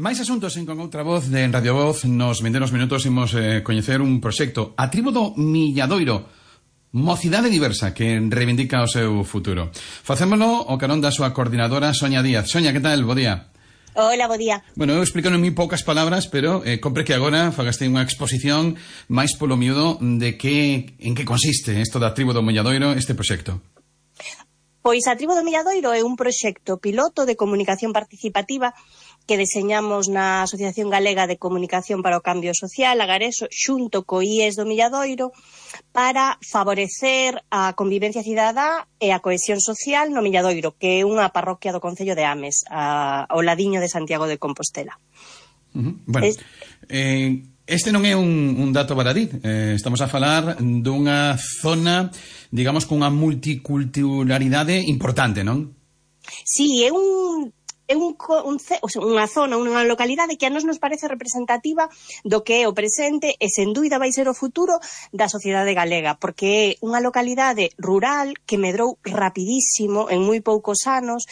Máis asuntos en Con Outra Voz de Radio Voz. Nos vindeiros minutos imos coñecer un proxecto, a Tribo do Milladoiro, mocidade diversa que reivindica o seu futuro. Facémolo o carón da súa coordinadora Sonia Díaz. Sonia, que tal? Bo día. Hola, bo día. Bueno, eu explico en moi poucas palabras, pero compre que agora fagaste unha exposición máis polo miúdo de en que consiste isto da Tribo do Milladoiro, este proxecto. Pois a Tribo do Milladoiro é un proxecto piloto de comunicación participativa que deseñamos na Asociación Galega de Comunicación para o Cambio Social, Agareso, xunto co IES do Milladoiro, para favorecer a convivencia cidadá e a cohesión social no Milladoiro, que é unha parroquia do concello de Ames, ao ladiño de Santiago de Compostela. Bueno, este non é un dato baradí. Estamos a falar dunha zona, digamos, cunha multiculturalidade importante, non? Sí, é unha zona, unha localidade que a nos parece representativa do que é o presente e sen dúbida vai ser o futuro da sociedade galega, porque é unha localidade rural que medrou rapidísimo en moi poucos anos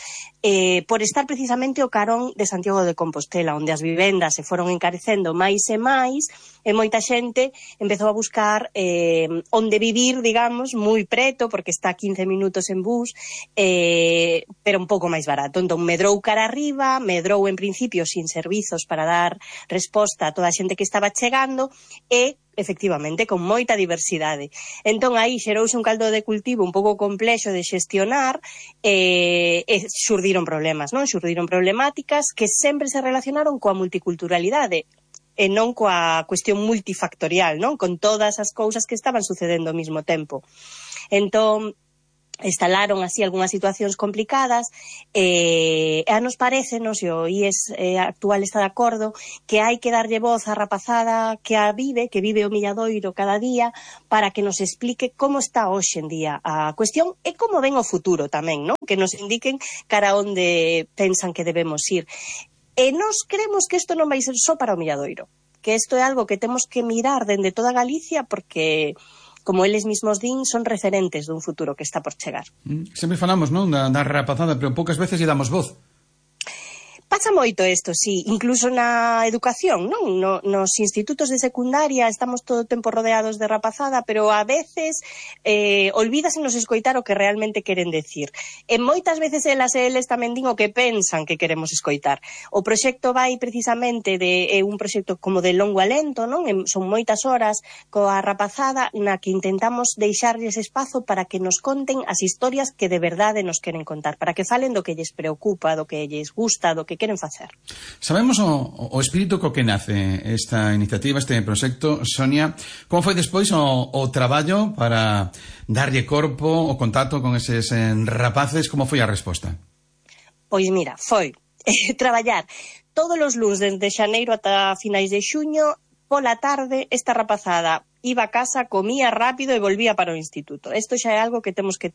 por estar precisamente o carón de Santiago de Compostela, onde as vivendas se foron encarecendo máis e máis e moita xente empezou a buscar onde vivir, digamos, moi preto, porque está a 15 minutos en bus, pero un pouco máis barato. Entón medrou cara arriba, medrou en principio sin servizos para dar resposta a toda a xente que estaba chegando e efectivamente con moita diversidade. Entón aí xerouse un caldo de cultivo un pouco complexo de xestionar e xurdiron problemas, non? Xurdiron problemáticas que sempre se relacionaron coa multiculturalidade e non coa cuestión multifactorial, non? Con todas as cousas que estaban sucedendo ao mesmo tempo. Entón instalaron así algunhas situacións complicadas e a nos parecenos, e o IES actual está de acordo, que hai que darlle voz á rapazada que vive o Milladoiro cada día, para que nos explique como está hoxe en día a cuestión e como ven o futuro tamén, non? Que nos indiquen cara onde pensan que debemos ir. E nós creemos que isto non vai ser só para o Milladoiro, que isto é algo que temos que mirar dende toda Galicia, porque como eles mismos din, son referentes dun futuro que está por chegar. Sempre falamos, non, da rapazada, pero poucas veces lle damos voz. Pasa moito isto, sí, incluso na educación, non? Nos institutos de secundaria estamos todo o tempo rodeados de rapazada, pero a veces olvídasenos escoitar o que realmente queren decir. E moitas veces elas e eles tamén din o que pensan que queremos escoitar. O proxecto vai precisamente de un proxecto como de longo alento, non? Son moitas horas coa rapazada na que intentamos deixarlles espazo para que nos conten as historias que de verdade nos queren contar, para que falen do que lles preocupa, do que lles gusta, do que queren facer. Sabemos o espírito co que nace esta iniciativa, este proxecto, Sonia. Como foi despois o traballo para darlle corpo, o contacto con eses rapaces? Como foi a resposta? Pois mira, foi traballar todos os luns desde xaneiro ata finais de xuño. Pola tarde, esta rapazada iba a casa, comía rápido e volvía para o instituto. Isto xa é algo que temos que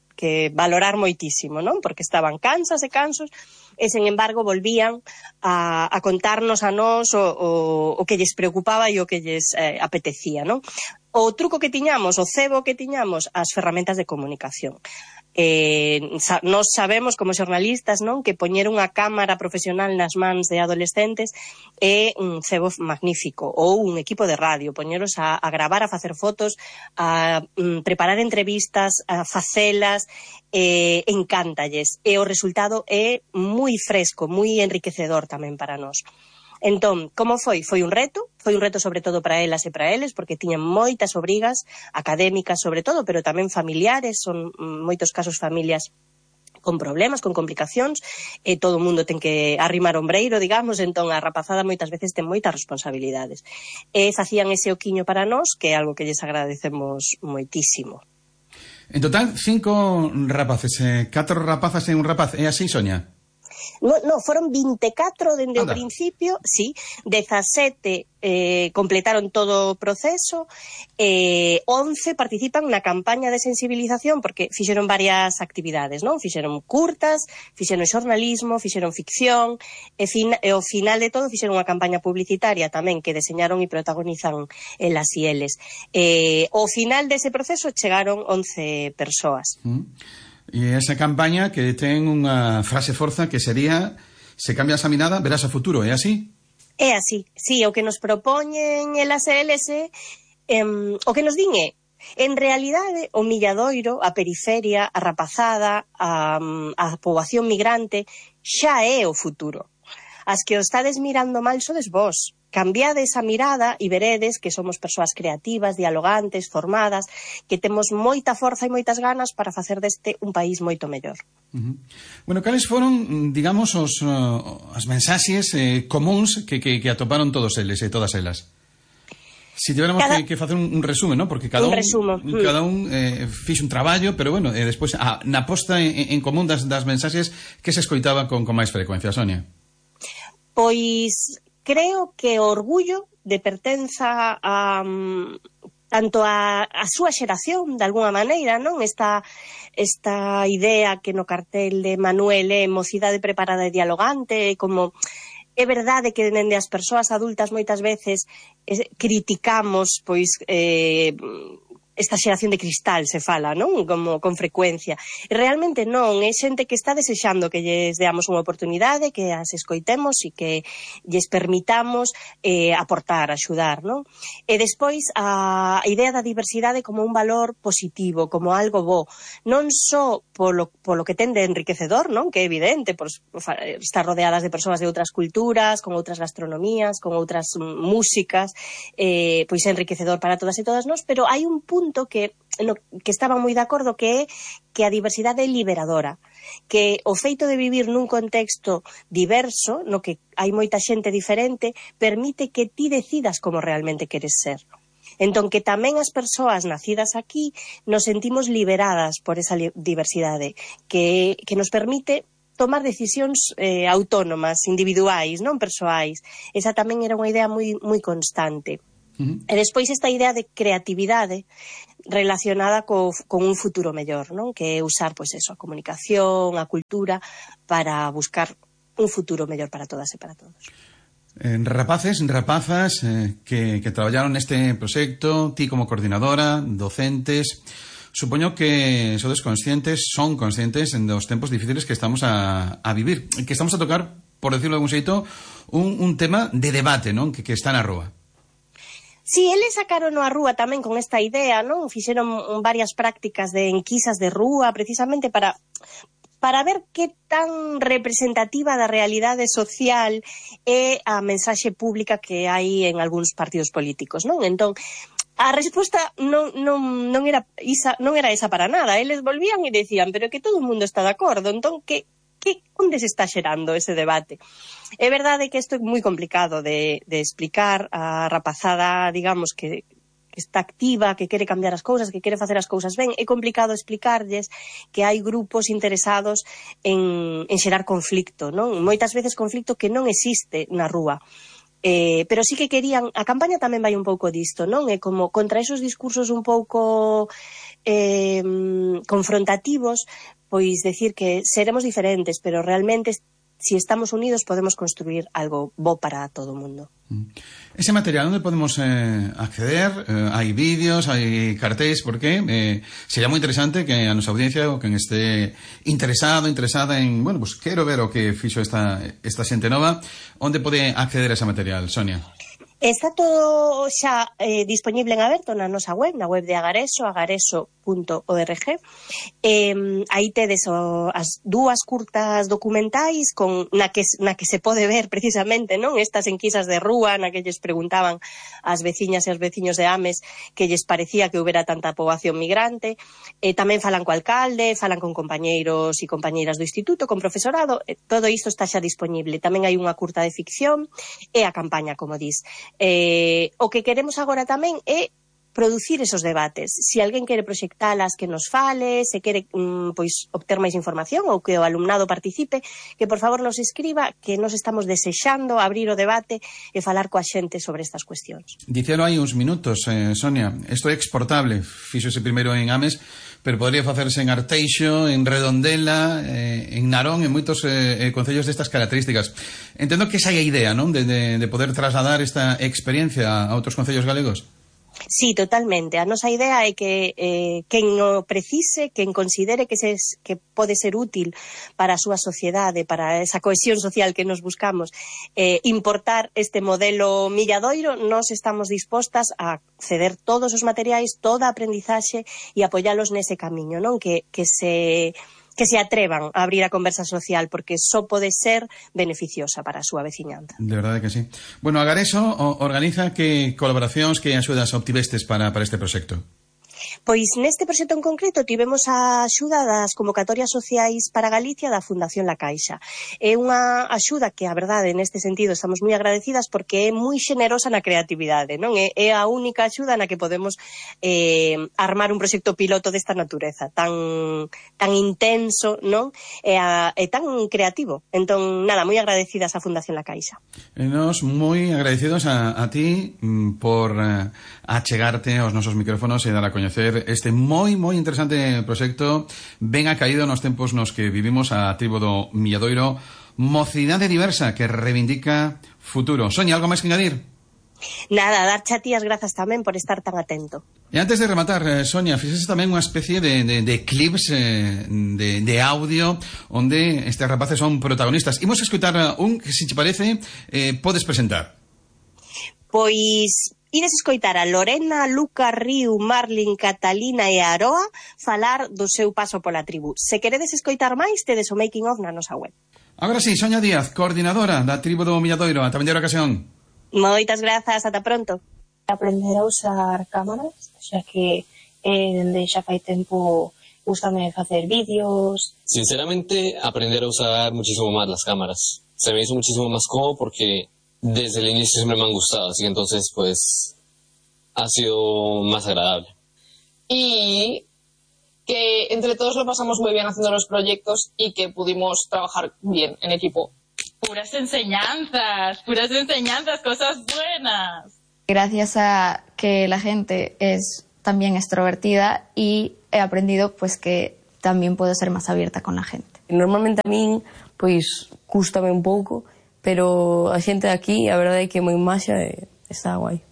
valorar moitísimo, non? Porque estaban cansas e cansos e, sen embargo, volvían a contarnos a nós o que lles preocupaba e o que lles apetecía, non? O truco que tiñamos, o cebo que tiñamos, as ferramentas de comunicación. Nós sabemos como xornalistas, non, que poñer unha cámara profesional nas mans de adolescentes é un cebo magnífico, ou un equipo de radio, poñeros a gravar, a facer fotos, a preparar entrevistas, a facelas, encántalles, e o resultado é moi fresco, moi enriquecedor tamén para nós. Entón, como foi? Foi un reto sobre todo para elas e para eles, porque tiñan moitas obrigas académicas sobre todo, pero tamén familiares, son moitos casos familias con problemas, con complicacións, e todo o mundo ten que arrimar ombreiro, digamos, entón a rapazada moitas veces ten moitas responsabilidades. E facían ese oquiño para nós, que é algo que lles agradecemos moitísimo. En total, 5 rapaces, 4 rapazas e un rapaz, é así, Sonia? No, foron 24 dende o principio, sí, 17 completaron todo o proceso, 11 participan na campaña de sensibilización, porque fixeron varias actividades, non? Fixeron curtas, fixeron xornalismo, fixeron ficción, e ao final de todo fixeron unha campaña publicitaria tamén que deseñaron e protagonizan elas e eles. Ao final dese proceso chegaron 11 persoas. E esa campaña que ten unha frase forza que sería: se cambias a mirada, verás a futuro, é así? É así, sí, o que nos propoñen elas e eles o que nos din é, en realidade, o Milladoiro, a periferia, a rapazada, a poboación migrante, xa é o futuro. As que o estades mirando mal sodes vós. Cambiade esa mirada e veredes que somos persoas creativas, dialogantes, formadas, que temos moita forza e moitas ganas para facer deste un país moito mellor. Bueno, cales foron, digamos, as mensaxes comuns que atoparon todos eles e todas elas? Si tivéramos que facer un resumen, ¿no? Porque cada un fixo un traballo, pero bueno, despois na posta en común das mensaxes que se escoitaba con máis frecuencia, Sonia. Pois creo que o orgullo de pertenza tanto a súa xeración, de alguna maneira, non? Esta idea que no cartel de Manuel é mocidade preparada e dialogante, como é verdade que dende as persoas adultas moitas veces criticamos pois esta xeración de cristal se fala, non? Como con frecuencia. E realmente non, é xente que está desexando que lles deamos unha oportunidade, que as escoitemos e que lles permitamos aportar, axudar, non? E despois a idea da diversidade como un valor positivo, como algo bo, non só polo que ten de enriquecedor, non? Que é evidente, por estar rodeadas de persoas de outras culturas, con outras gastronomías, con outras músicas, pois é enriquecedor para todas e todas nós, pero hai un punto que estaban moi de acordo que é que a diversidade é liberadora, que o feito de vivir nun contexto diverso, no que hai moita xente diferente, permite que ti decidas como realmente queres ser. Entón, que tamén as persoas nacidas aquí nos sentimos liberadas por esa diversidade, que nos permite tomar decisións autónomas, individuais, non persoais. Esa tamén era unha idea moi constante. E despois esta idea de creatividade relacionada con un futuro mellor, non? Que é usar, pois eso, a comunicación, a cultura para buscar un futuro mellor para todas e para todos. Rapaces, rapazas que traballaron neste proxecto, ti como coordinadora, docentes, supoño que son conscientes dos tempos difíciles que estamos a vivir, que estamos a tocar, por decirlo de algún xeito, un tema de debate, non? Que está na rúa. Si, eles sacaron a rúa tamén con esta idea, non? Fixeron varias prácticas de enquisas de rúa, precisamente para ver que tan representativa da realidade social é a mensaxe pública que hai en algúns partidos políticos, non? Entón, a resposta non era esa para nada. Eles volvían e decían, pero que todo o mundo está de acordo, entón, onde se está xerando ese debate? É verdade que isto é moi complicado de explicar a rapazada, digamos, que está activa, que quere cambiar as cousas, que quere facer as cousas ben. É complicado explicarlles que hai grupos interesados en xerar conflicto, non? Moitas veces conflicto que non existe na rúa. Pero sí que querían, a campaña tamén vai un pouco disto, non? É como contra esos discursos un pouco confrontativos, pois decir que seremos diferentes, pero realmente si estamos unidos podemos construir algo bo para todo o mundo. Ese material, onde podemos acceder? Hai vídeos, hai cartéis, porque sería moi interesante que a nosa audiencia, ou quen este interesada en, bueno, pues quero ver o que fixo esta xente nova, onde pode acceder a ese material, Sonia? Está todo xa disponible en aberto na nosa web, na web de Agareso, agareso.org. Aí tedes as dúas curtas documentais na que se pode ver precisamente, non? Estas enquisas de rúa na que lles preguntaban ás veciñas e aos veciños de Ames que lles parecía que houbera tanta poboación migrante. Tamén falan co alcalde, falan con compañeiros e compañeiras do instituto, con profesorado. Todo isto está xa disponible. Tamén hai unha curta de ficción e a campaña, como dis. O que queremos agora tamén é producir esos debates. Se alguén quere proxectalas, que nos fale, se quere pois obter máis información ou que o alumnado participe, que por favor nos escriba, que nos estamos desexando abrir o debate e falar coa xente sobre estas cuestións. Dicelo hai uns minutos, Sonia, isto é exportable, fíxose primeiro en Ames, pero podría facerse en Arteixo, en Redondela, en Narón, en moitos concellos destas características. Entendo que esa é a idea, non? De poder trasladar esta experiencia a outros concellos galegos. Sí, totalmente. A nosa idea é que quen o precise, quen considere que pode ser útil para a súa sociedade, para esa cohesión social que nos buscamos, importar este modelo Milladoiro, nós estamos dispostas a ceder todos os materiais, toda a aprendizaxe e apoialos nese camiño, non? Que se atrevan a abrir a conversa social, porque só pode ser beneficiosa para a súa veciñanza. De verdade que sí. Bueno, Agareso organiza que colaboracións, que axudas obtivestes para este proxecto? Pois neste proxecto en concreto tivemos a axuda das convocatorias sociais para Galicia da Fundación La Caixa. É unha axuda que, a verdade, neste sentido estamos moi agradecidas porque é moi xenerosa na creatividade, non? É a única axuda na que podemos armar un proxecto piloto desta natureza, tan intenso, non? E tan creativo. Entón, nada, moi agradecidas á Fundación La Caixa. Nos moi agradecidos a ti por achegarte aos nosos micrófonos e dar a coñecer este moi interesante proxecto ben acaído nos tempos nos que vivimos a tribo do Milladoiro, mocidade diversa que reivindica futuro. Sonia, algo máis que engadir? Nada, darche a ti as grazas tamén por estar tan atento. E antes de rematar, Sonia, fixese tamén unha especie de clips de audio onde estes rapaces son protagonistas. Imos a escutar un que, se te parece, podes presentar. Pois ides escoitar a Lorena, Luca, Riu, Marlin, Catalina e Aroa falar do seu paso pola tribu. Se queredes escoitar máis, tedes o making of na nosa web. Agora sí, Sonia Díaz, coordinadora da tribu do Milladoiro. Ata vindeira ocasión. Moitas grazas, ata pronto. Aprender a usar cámaras, xa que dende xa fai tempo gustame facer vídeos. Sinceramente, aprender a usar muchísimo más las cámaras. Se me hizo muchísimo más cómodo porque desde el inicio siempre me han gustado, así que entonces pues ha sido más agradable. Y que entre todos lo pasamos muy bien haciendo los proyectos y que pudimos trabajar bien en equipo. Puras enseñanzas, cosas buenas. Gracias a que la gente es también extrovertida y he aprendido pues que también puedo ser más abierta con la gente. Normalmente a min, pois, cústame un pouco, pero a xente de aquí, a verdade é que é moi maxa e está guai.